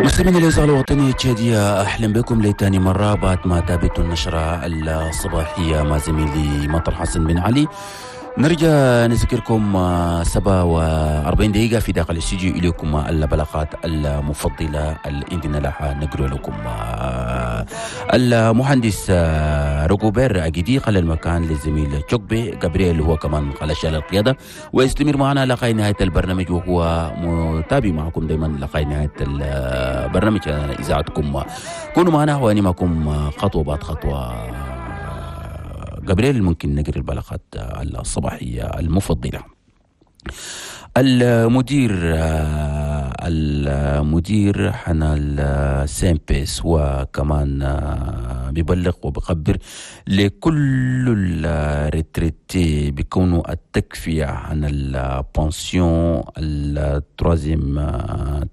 مستمعينا الإذاعة الوطنية التشادية، أهلا بكم لتاني مرة بعد ما تابعتوا النشرة الصباحية مع زميلي مطر حسن بن علي. نرجع نذكركم 47 دقيقة في داخل الاستوديو. إليكم البلاغات المفضلة اللي عندنا لها نقرأ لكم. المهندس روغوبير أجيدي خلى المكان للزميل تشوكبي جابرييل، هو كمان خلى شال القيادة ويستمر معنا لغاية نهاية البرنامج، وهو متابع معكم دائما لغاية نهاية البرنامج إذاعتكم. كونوا معنا وأنا معكم خطوة بعد خطوة. جابرييل، ممكن نقرأ البلاغات الصباحية المفضلة. المدير حنا ال CNPS وكمان بيبلغ وبخبر لكل ال retraités بيكونوا التكفية عن ال pension ال troisième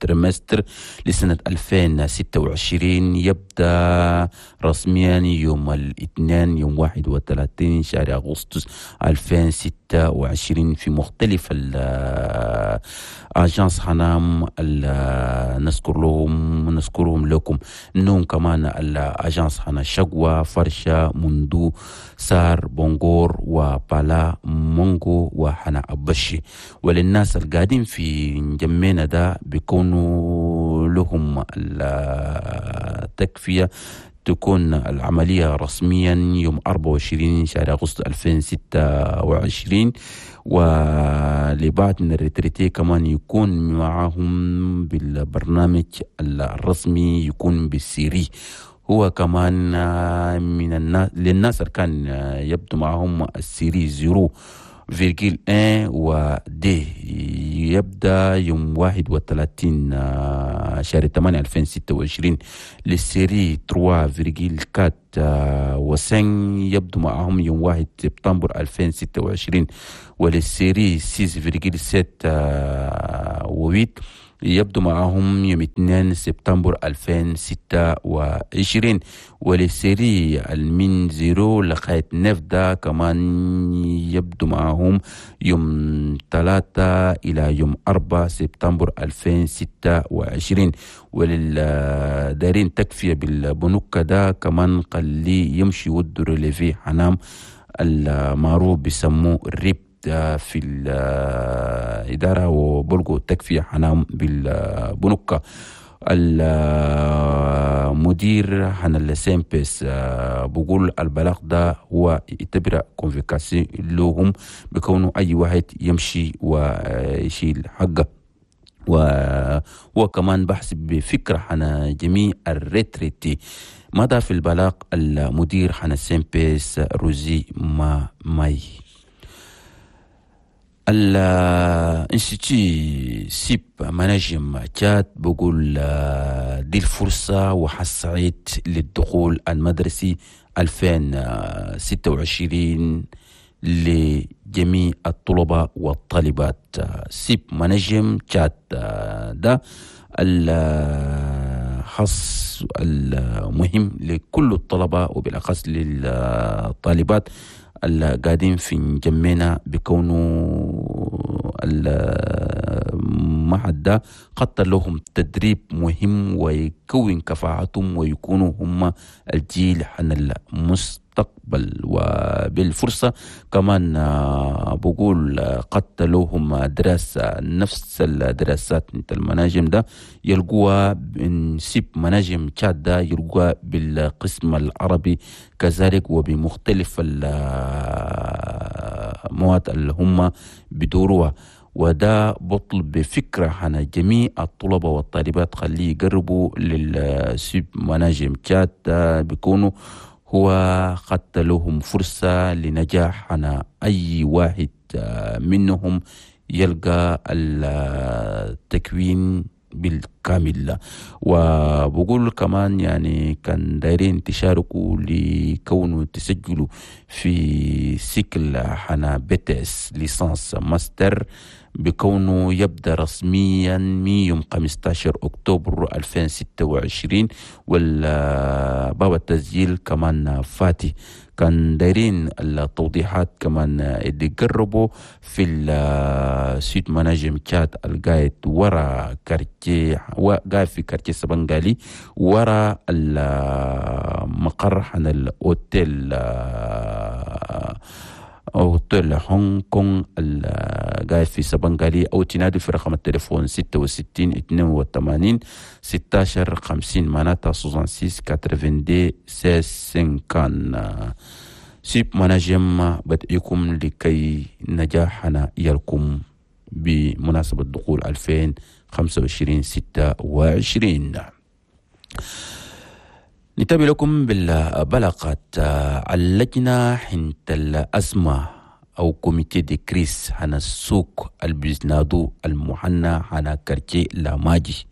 trimestre لسنة 2026 يبدأ رسميا يوم الاثنين يوم 31 شهر أغسطس 2026 في مختلف ال agences حنام. نذكر لهم نذكرهم لكم انهم كمان ال agences حنا شقوة، فرشة، مندو، سار، بونغور وبالا مونغو وحنا أبشي. وللناس القاعدين في جمينا ده بيكونوا لهم التكفية تكون العملية رسميا يوم 24 شهر أغسطس 2026. ولبعض من ال retraités كمان يكون معهم بالبرنامج الرسمي يكون بال série، هو كمان من الناس للناس اللي كان يبدو معهم ال série 0,1 و deux يبدأ يوم 31 شهر 8 2026. لل série 3,4 و 5 يبدو معهم يوم 1 سبتمبر 2026. ولل série 6,7 و 8 يبدو معهم يوم 2 سبتمبر 2026. ولل série المن zéro لغاية neuf ده كمان يبدو معهم يوم 3 إلى يوم 4 سبتمبر 2026. وللدارين تكفية بالبنوك ده كمان قال يمشي ودو relevé حنام المعروف بيسموه ال RIP في الإدارة وبلغوا تكفية حنام بالبنوك. المدير حنا ال CNPS بقول البلاغ ده هو يعتبر convocation لهم بكونه أي واحد يمشي ويشيل حقه، وهو كمان بحث بفكرة حنا جميع ال retraités. ماذا في البلاغ المدير حنا ال CNPS روزي ما ماي. ال institut سيب مناجم تشاد بقول دي الفرصة وحسعيد للدخول المدرسي 2026 لجميع الطلبة والطالبات. سيب مناجم تشاد ده الحص المهم لكل الطلبة وبالأخص للطالبات القاعدين في جمينا، بكونوا المعهد ده خط لهم تدريب مهم ويكون كفاءتهم ويكونوا هم الجيل عن المستقبل. وبالفرصة كمان بقول قد لهم دراسة نفس الدراسات انت المناجم ده يلقوها من سيب مناجم تشاد ده يلقوها بالقسم العربي كذلك وبمختلف المواد اللي هم بدوروها. وده بطلب بفكرة عن جميع الطلبة والطالبات خليه يقربوا للسيب مناجم تشاد، بيكونوا هو خدت لهم فرصة لنجاح عن أي واحد منهم يلقى التكوين بالكامل. وبقول كمان يعني كان دايرين تشاركوا لكونه تسجلوا في cycle حنا BTS، licence، master بكونه يبدأ رسميا من يوم 15 أكتوبر 2026، والباب التسجيل كمان فاتي. كان دايرين التوضيحات كمان اللي قربوا في السيت مناجم تشاد القايد ورا quartier قاعد في quartier سبنغالي ورا المقر حنا الأوتيل، أوتيل هونغ كونغ قاعد في سبنغالي، أو تنادي في رقم التليفون 66 82 16 50، معناتها 66 82 16 50. سيب مناجم بدعيكم لكي نجاحنا يلكم بمناسبة دخول 2025 26. نتابع لكم بالبلاغات. اللجنة حنت الأزمة أو comité de crise هنا السوق البزنادو المحنى هنا quartier لاماجي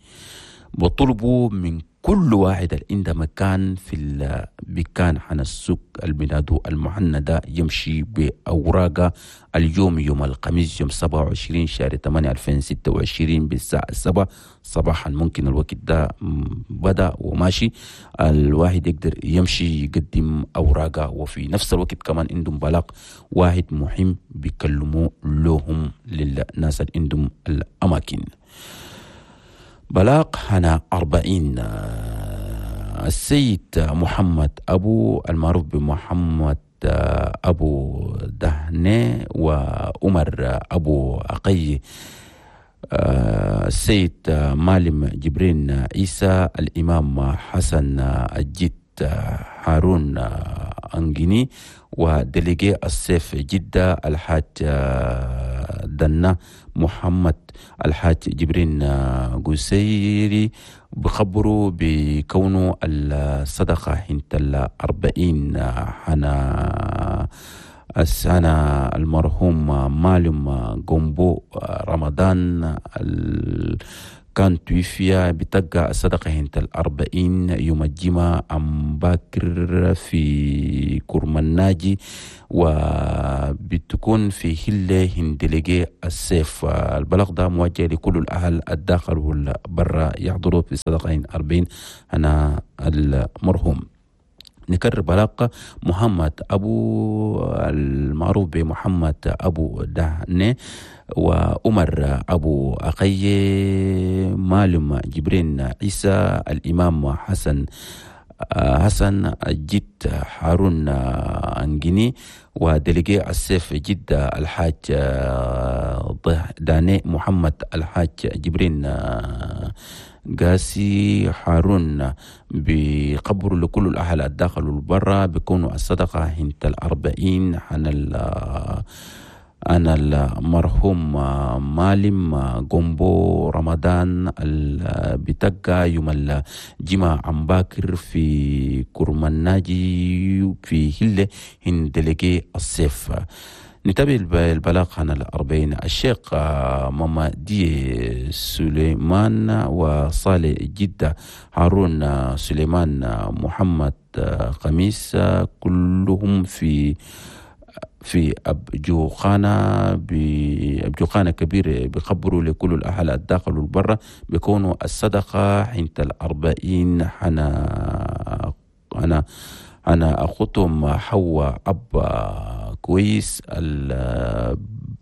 بطلبوا من كل واحد اللي عنده مكان في البكان حنا السوق البنادو المحنى ده يمشي بأوراقه اليوم يوم الخميس يوم 27 شهر 8 2026 بالساعة 7 صباحا. ممكن الوقت ده بدأ وماشي، الواحد يقدر يمشي يقدم أوراقه، وفي نفس الوقت كمان عندهم بلاغ واحد مهم بيكلموا لهم للناس اللي عندهم الأماكن. بلاغ هنا 40 السيد محمد أبو المعروف بمحمد أبو دهني وعمر أبو أقي، السيد مالم جبرين عيسى، الإمام حسن الجد هارون أنجيني، و délégué السيف جدة الحاج دنا محمد الحاج جبرين قسيري بخبروا بكونه الصدقة حنت 40 حنا السنة المرحوم مالم جومبو رمضان كان توفي بتلقى الصدقة هنت 40 يوم الجمعة أم باكر في كرمناجي، وبتكون في هلة هندلقي السيف. البلاغ ده موجه لكل الأهل الداخل والبرا يحضروا في صدقة 40 أنا المرحوم. نكرر بلاغ محمد أبو المعروف بمحمد أبو دهني وعمر أبو أقي، مالم جبرين عيسى، الإمام حسن الجد هارون أنجيني، و délégué السيف جدة الحاج داني محمد الحاج جبرين قاسي هارون بقبر لكل الأهل الداخل والبرا بيكونوا الصدقة هنت 40 أنا المرحوم مالم جومبو رمضان بتقى يوم الجمعة عم باكر في كرمناجي في هلة هندلقي السيف. نتابع البلاغ عن 40 الشيخ ماما دي سليمان وصالح جدة هارون سليمان محمد خميس، كلهم في أبجوخانة بأبجوخانة كبيرة بخبروا لكل الأهل الداخل والبرة بيكونوا الصدقة حنت 40 حنا أنا أخوتهم حوا أب كويس.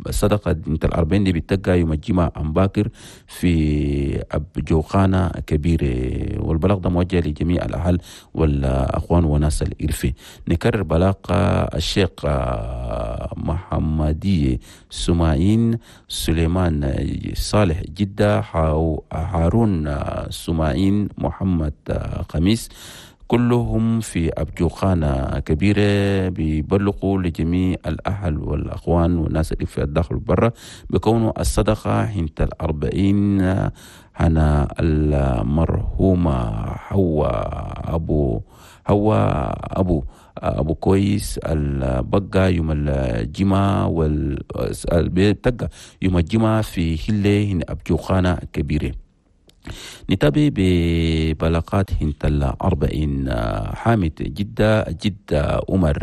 الصدقة انت 40 دي بتلقى يوم الجمعة أم باكر في أبجوخانة كبيرة، والبلاغ ده موجه لجميع الأهل والأخوان وناس الإرفي. نكرر بلاغ الشيخ محمدي سماعين سليمان صالح جدة هارون سماعين محمد خميس، كلهم في أبجوخانة كبيرة بيبلغوا لجميع الأهل والأخوان والناس اللي في الداخل والبرة بكونوا الصدقة حنت 40 هنا المرحومة حوا أبو كويس البقى يوم الجمعة بتقى يوم الجمعة في هلة هنا أبجوخانة كبيرة. نتابع ببلاغات هنت 40 حامد جدة جدة عمر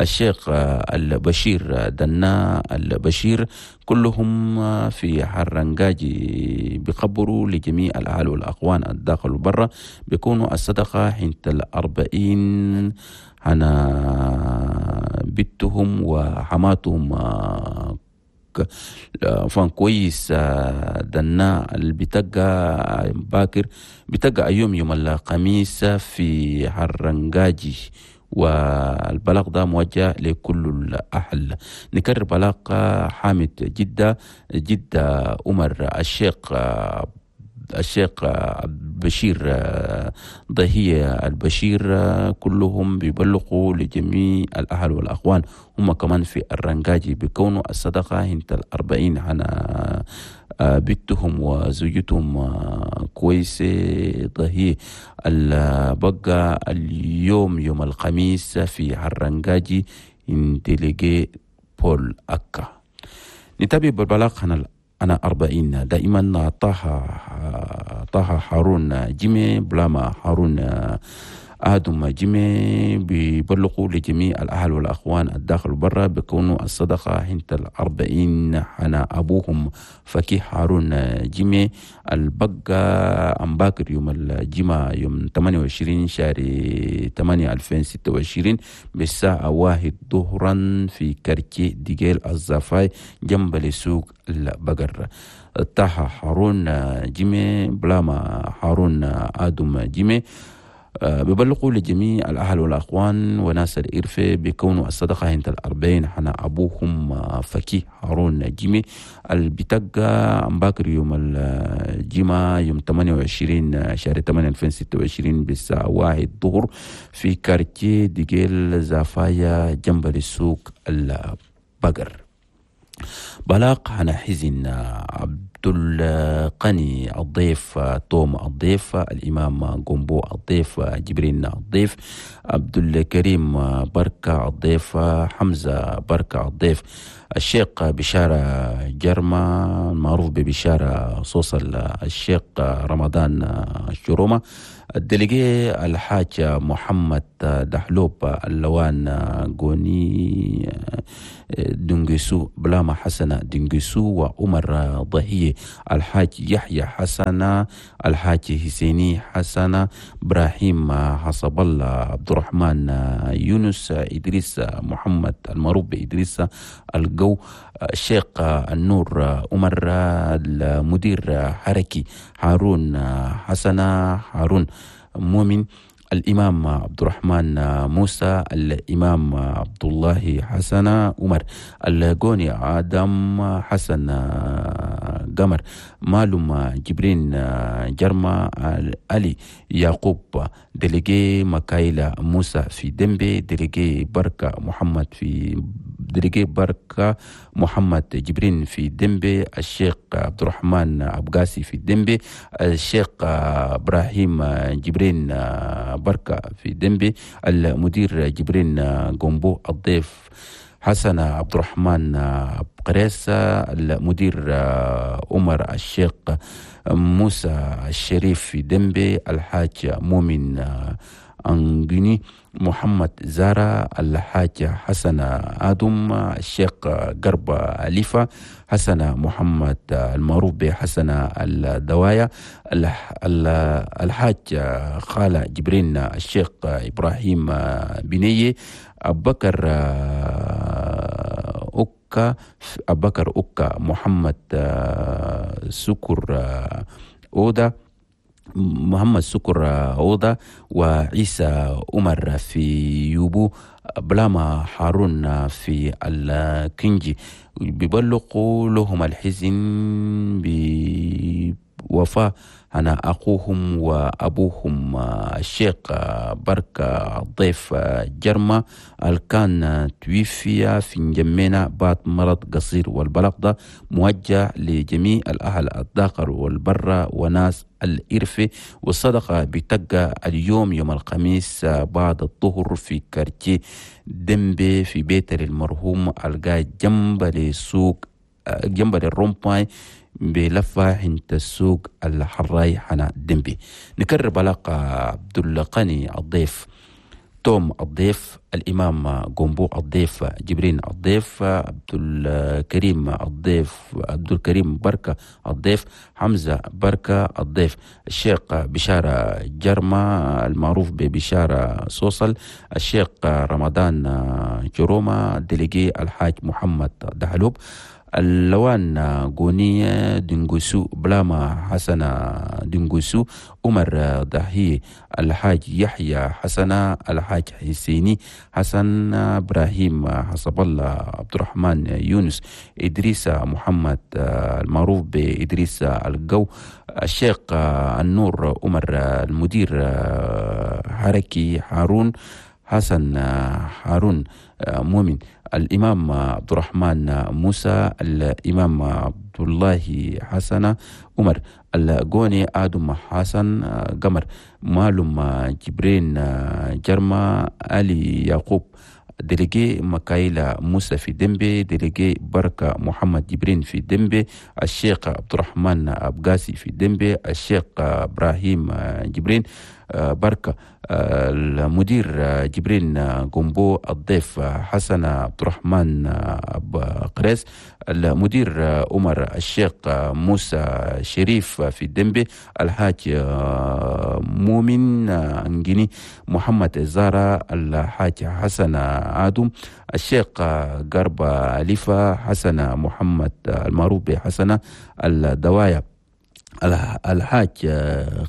الشيخ البشير دنا البشير، كلهم في حرنجاجي بخبروا لجميع الأهل والأخوان الداخل والبرة بيكونوا الصدقة هنت 40 هنا بنتهم وحماتهم فان كويس دنا اللي بتلقى باكر بتلقى يوم الخميس في حرنجاجي، والبلاغ ده موجه لكل الأهل. نكرر بلاغ حامد جدة، جدة عمر الشيخ بشير ضهية البشير، كلهم بيبلغوا لجميع الأهل والأخوان. هم كمان في الرنجاجي بيكونوا الصدقة هنت 40 على بنتهم وزوجتهم كويسة ضهية بقى اليوم يوم الخميس في الرنجاجي انتلقي بول أكا. نتابع بالبلاغ أنا 40 دائما طه هارون جيمي بلاما هارون آدم جيمي بيبلغوا لجميع الأهل والأخوان الداخل وبرا بكونوا الصدقة هنت 40 حنا أبوهم فكي هارون جيمي البقى أمباكر يوم الجمعة يوم 28 شهر 8 2026 بالساعة 1 ظهرا في كركي ديجيل الزفاي جنب لسوق البقر. طه هارون جيمي بلاما هارون آدم جيمي ببلغوا لجميع الأهل والأخوان وناس الإرفة بكونوا الصدقة هنت 40 حنا أبوهم فكي هارون جيمي البتقى أمباكر يوم الجمعة يوم 28 شهر 8 2026 بالساعة 1 ظهر في كارتيه ديجيل زافايا جنب السوق البقر. بلاغ عن حزن عبد القني الضيف، توم الضيف، الإمام جومبو الضيف، جبرين الضيف، عبد الكريم بركة الضيف، حمزة بركة الضيف، الشيخ بشارة جرمة المعروف ببشارة صوصل، الشيخ رمضان الشرومة، الدليجي الحاج محمد دحلوب، اللوان غوني دنجسو بلاما حسنة دنجسو، وعمر ضهية، الحاج يحيى حسنة، الحاج حسيني حسنة، إبراهيم حسب الله، عبد الرحمن يونس، إدريس محمد المعروف بإدريس الجو، الشيخ النور عمر، المدير حركي هارون حسنة، هارون مؤمن، الإمام عبد الرحمن موسى، الإمام عبد الله حسن عمر، الجوني آدم حسن قمر، مالوم جبرين جرما، علي يعقوب، دليجي مكايلة موسى في دمبي، دليجي بركة محمد في دليجي بركة محمد جبرين في دمبي، الشيخ عبد الرحمن أبقاسي في دمبي، الشيخ إبراهيم جبرين بركة في دمبي، المدير جبرين جومبو الضيف، حسن عبد الرحمن قريسة، المدير عمر الشيخ موسى الشريف في دمبي، الحاج مؤمن أنجني، محمد زارة، الحاج حسن آدم، الشيخ قرب أليفة، حسن محمد المعروف بحسن الدوايا، الحاج خالة جبرين، الشيخ إبراهيم بنية، أبكر أكا، أبكر أكا، محمد سكر أودا، محمد سكر عوضة، وعيسى عمر في يوبو، بلاما هارون في الكنجي. بيبلغوا لهم الحزن بوفاة أنا أخوهم وأبوهم الشيخ بركة الضيف جرمة الكان توفي في نجمينا بعد مرض قصير. والبلاغ ده موجه لجميع الأهل الداخل والبرة وناس الإرفة. والصدقة بتقى اليوم يوم الخميس بعد الظهر في كارتيه دمبي في بيت المرحوم القاي جنب لسوق جنب للرومباي بلفة عند السوق الحراي حنا دمبي. نكرر بلاغ عبد القني الضيف، توم الضيف، الإمام جومبو الضيف، جبرين الضيف، عبد الكريم الضيف، عبد الكريم بركة الضيف، حمزة بركة الضيف، الشيخ بشارة جرمة المعروف ببشارة صوصل، الشيخ رمضان جرومة، ديليجي الحاج محمد دحلوب، اللوان غوني دنغوسو، بلاما حسن دنغوسو، عمر ضحي، الحاج يحيى حسن، الحاج حسيني حسن، إبراهيم حسب الله، عبد الرحمن يونس، إدريس محمد المعروف بإدريس الجو، الشيخ النور عمر، المدير حركي هارون حسن، هارون مؤمن، الإمام عبد الرحمن موسى، الإمام عبد الله حسن عمر، الجوني آدم حسن قمر، مالوم جبرين جرما، علي يعقوب، délégué مكايلا موسى في ديمبي، délégué بركة محمد جبرين في ديمبي، الشيخ عبد الرحمن أبقاسي في ديمبي، الشيخ إبراهيم جبرين بركة، المدير جبرين جومبو، الضيف حسن عبد الرحمن قريس، المدير عمر، الشيخ موسى شريف في ديمبي، الحاج مؤمن انجيني، محمد زارة، الحاج حسن آدم، الشيخ قرب ليفا، حسن محمد المعروف بحسن الدوايا، الحاج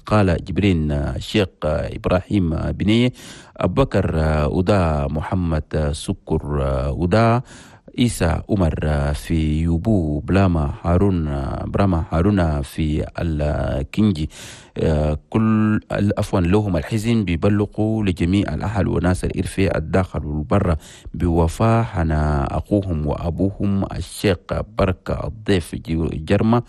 قال جبرين، الشيخ إبراهيم بني أبو بكر ودا، محمد سكر ودا، إيسا عمر في يوبو، بلاما هارون، براما هارون في الكنجي. كل عفوا لهم الحزن بيبلغوا لجميع الأهل وناس الإرفي الداخل والبر بوفاة حنا أخوهم وأبوهم الشيخ بركة الضيف جرمة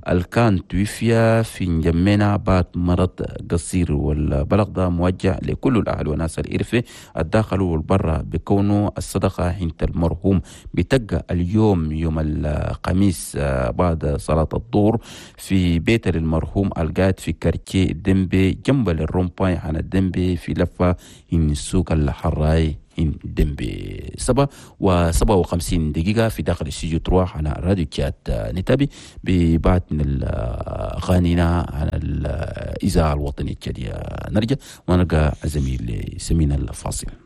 الكان توفي في نجمنا بعد مرض قصير. والبلغ ده موجه لكل الأهل وناس الإرفي الداخل والبر بكونه الصدقة حين المرحوم بتقى اليوم يوم الخميس بعد صلاة الظهر في بيت المرحوم القاعد في quartier ديمبي جنب ال rond-point عن الديمبي في لفة إن سوق الحراي إن ديمبي. 7:57 في داخل الاستوديو تروح على راديو تشاد. نتابع ببعض من الأغانينا على الإذاعة الوطنية التشادية. نرجع ونلقى الزميل سمينا الفاصل.